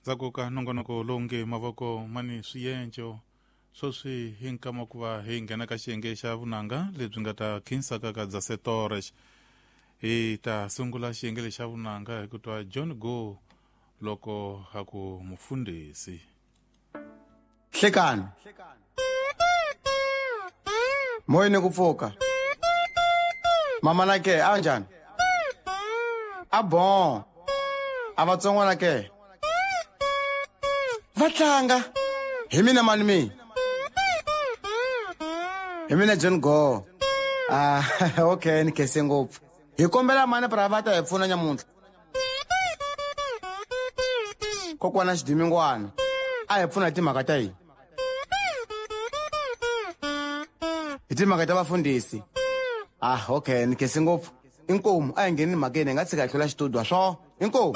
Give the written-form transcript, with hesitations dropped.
Ndzhaku ka nongonoko lowu nge mavoko mani swiyenco, sweswi hi nkama ku va hi nghena ka xiyenge xa vunanga lebyi nga ta khinsaka ka Dzase Torres. Hi ta sungula xiyenge lexi xa vunanga hi ku twa John Go loko a ku mufundhisi. Hlekani. Moyeni ku pfuka. Mama na ke a njhani? A bon. A vatsongwana ke? Va tlanga. Hi mina mani mi? Hi mina John Go. Ah, okay, ni khense ngopfu. Hi kombela mani pra va ta hi pfuna nyamuntlha. Kokwana Xidimingwana a hi pfuna hi timhaka ta yini? Hi timhaka ta vafundhisi. Ah, okay, ni khense ngopfu. Inkomu a hi ngheni mhakeni hi nga tshika hi hlula xitudio swo. Inkomu.